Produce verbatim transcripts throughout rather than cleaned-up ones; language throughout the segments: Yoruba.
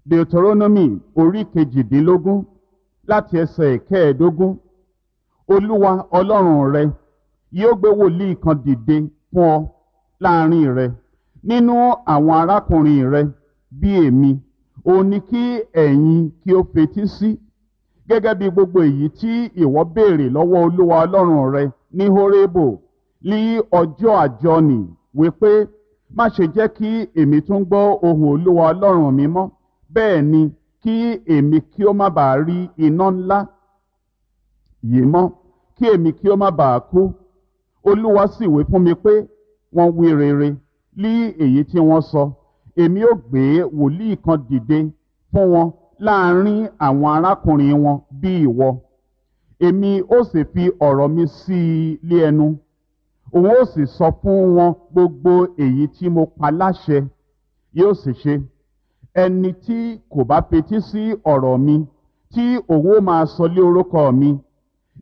Deuteronomy orí kejìdínlógún láti ẹsẹ̀ ìkẹẹ̀ẹ́dógún. Olúwa Ọlọ́run rẹ yóò gbé wòlíì kan dìde fún ọ láàrin rẹ nínú àwọn arákùnrin rẹ bí èmi, òun ni kí ẹ̀yin kí ó fetí sí gẹ́gẹ́ bí gbogbo èyí tí ìwọ béèrè lọ́wọ́ Olúwa Ọlọ́run rẹ ní Hórébù ní ọjọ́ àjọni, wípé má ṣe jẹ́ kí èmi tún gbọ́ ohùn Olúwa Ọlọ́run mi mọ́, bẹ́ẹ̀ ni kí èmi kí ó má bàa rí iná ńlá yìí mọ́, kí èmi kí ó má bàa kú. Olúwa sì wí fún mi pé wọ́n wí rere lí èyí tí wọ́n sọ. Èmi ó gbé wòlíì kan dìde fún wọn láàrin àwọn arákùnrin wọn bí ìwọ. Èmi ó sì fi ọ̀rọ̀ mi sí i lé ẹnu. Òun ó sì sọ fún wọn gbogbo èyí tí mo pa láṣẹ. Yóò sì ṣe. Ẹni tí kò bá fetí sí ọ̀rọ̀ mi, tí òun ó máa sọ lé orúkọ mi,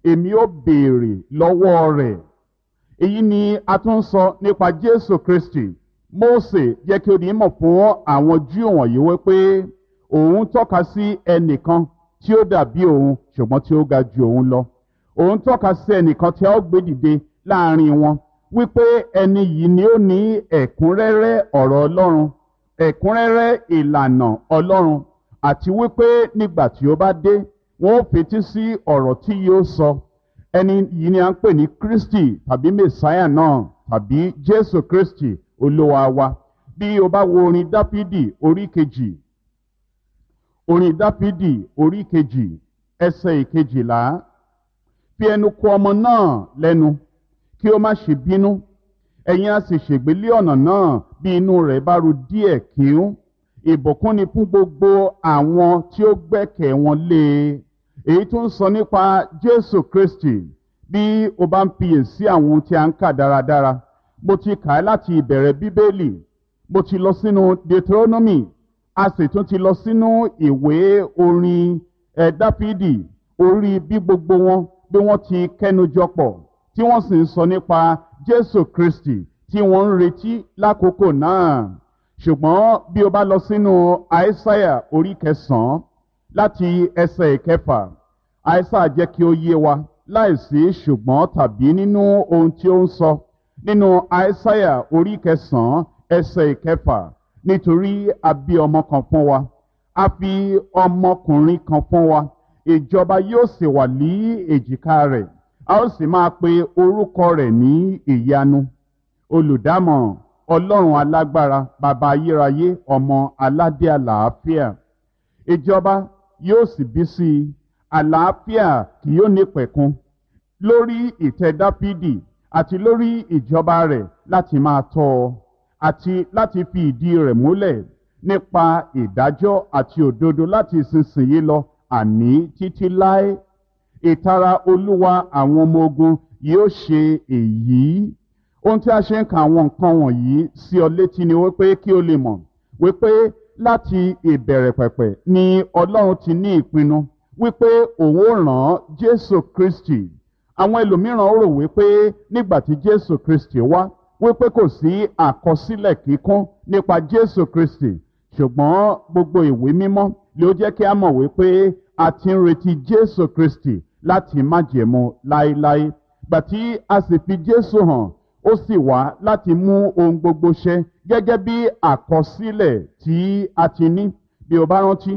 èmi ó béèrè lọ́wọ́ rẹ̀. Èyí ni a tún ń sọ nípa Jésù Kristi. Mósè jẹ́ kí ó di mọ̀ fún àwọn Júù wọ̀nyí wípé òun tọ́ka sí ẹnìkan tí ó dàbí òun ṣùgbọ́n tí ó ga ju òun lọ. Òun tọ́ka sí ẹnìkan tí a ó gbé dìde láàrin wọn, wípé ẹni yìí ni ó ní ẹ̀kúnrẹ́rẹ́ ọ̀rọ̀ Ọlọ́run, ẹ̀kúnrẹ́rẹ́ ìlànà Ọlọ́run, àti wípé nígbà tí ó bá dé, wọn ó fetí sí ọ̀rọ̀ tí yóò sọ. Ẹni yìí ni a ń pè ní Kristi tàbí Mèsáyà náà tàbí Jésù Kristi Olúwa wa. Bí o bá wo orin Dáfídì orí kejì, orin Dáfídì orí kejì, ẹsẹ̀ ìkejìlá, fi ẹnu kò ọmọ náà lẹ́nu kí ó má ṣe bínú, ẹ̀yin a sì ṣègbé lé ọ̀nà náà bí inú rẹ̀ bá ru díẹ̀ kíún. Ìbùkún ni fún gbogbo àwọn tí ó gbẹ́kẹ̀ wọn lé e. Èyí tó ń sọ nípa Jésù Kristi. Bí o bá ń fiyèsí àwọn ohun tí a ń kà dáradára, mo ti kà á láti ìbẹ̀rẹ̀ Bíbélì, mo ti lọ sínú Deuteronomy, a sì tún ti lọ sínú ìwé orin ẹ̀ Dáfídì, orí bí gbogbo wọn bí wọ́n ti kẹ́nu jọpọ̀ tí wọ́n sì ń sọ nípa Jésù Kristi tí wọ́n ń retí lákòókò náà. Ṣùgbọ́n bí o bá lọ sínú Àìsáyà orí kẹsàn-án láti ẹsẹ̀ ìkẹfà, Àìsáyà jẹ́ kí ó yé wa láìsí ṣùgbọ́n tàbí nínú ohun tí ó ń sọ nínú Àìsáyà orí kẹsàn-án ẹsẹ̀ ìkẹfà, nítorí a bí ọmọ kan fún wa, a fi ọmọkùnrin kan fún wa, ìjọba yóò sì wà ní èjìká rẹ̀, a ó sì máa pe orúkọ rẹ̀ ní Ìyanu, Olùdámọ̀ràn, Ọlọ́run alágbára, Bàbá ayérayé, Ọmọ aládé àlàáfíà. Ìjọba yóò sì bí sí i, àlàáfíà kì yóò ní pẹ̀kun lórí ìtẹ́ Dáfídì àti lórí ìjọba rẹ̀ láti máa tọ́ ọ àti láti fi ìdí rẹ̀ múlẹ̀ nípa ìdájọ́ àti òdodo láti ìsinsìnyí lọ, àní títí láé. Ìtara Olúwa àwọn ọmọ ogun yóò ṣe èyí. Ohun tí a ṣe ń ka àwọn nǹkan wọ̀nyí sí ọ létí ni wípé kí o lè mọ̀ wípé láti ìbẹ̀rẹ̀ pẹ̀pẹ̀ ni Ọlọ́run ti ní ìpinnu wípé òun ó rán Jésù Kristi. Àwọn ẹlòmíràn rò wípé nígbà tí Jésù Kristi wá, wípé kò sí àkọsílẹ̀ kíkún nípa Jésù Kristi. Ṣùgbọ́n gbogbo ìwé mímọ́ ló jẹ́ kí a mọ̀ wípé a ti ń retí Jésù Kristi láti májẹ̀mú láéláé. Gbà tí a sì fi Jésù hàn, ó sì wá láti mú ohun gbogbo ṣẹ gẹ́gẹ́ bí àkọsílẹ̀ tí a ti ní. Bí o bá rántí,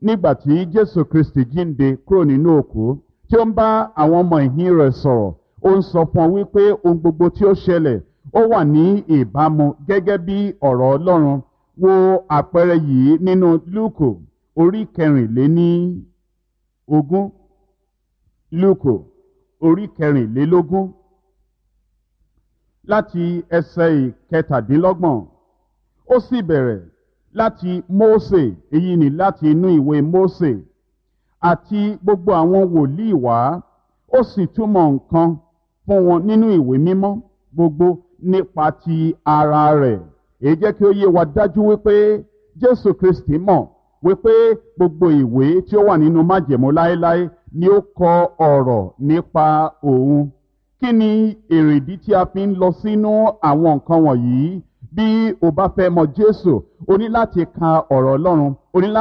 nígbà tí Jésù Kristi jíǹde kúrò nínú òkú, tí ó ń bá àwọn ọmọ ìhín rẹ̀ sọ̀rọ̀, ó ń sọ fún ọ wípé ohun gbogbo tí ó ṣẹlẹ̀ ó wà ní ìbámu gẹ́gẹ́ bí ọ̀rọ̀ Ọlọ́run. Wo àpẹẹrẹ yìí nínú Lúùkù orí kẹrìnléní ogún. Lúùkù orí kẹrìnlélógún láti ẹsẹ̀ ìkẹtàdínlọ́gbọ̀n. Ó sì bẹ̀rẹ̀ láti Mósè, èyí ni láti inú ìwé Mósè àti gbogbo àwọn wòlíì wá, ó sì túmọ̀ nǹkan fún wọn nínú ìwé mímọ́ gbogbo nípa ti ara rẹ̀. Èyí jẹ́ kí ó yé wa dájú wípé Jésù Kristi mọ̀ wípé gbogbo ìwé tí ó wà nínú májẹ̀mú láéláé ni ó kọ ọ̀rọ̀ nípa òun. Kí ni èrèdí tí a fi ń lọ sínú àwọn nǹkan wọ̀nyí? Bí o bá fẹ́ mọ Jésù, o ní láti ka ọ̀rọ̀ Ọlọ́run, o ní láti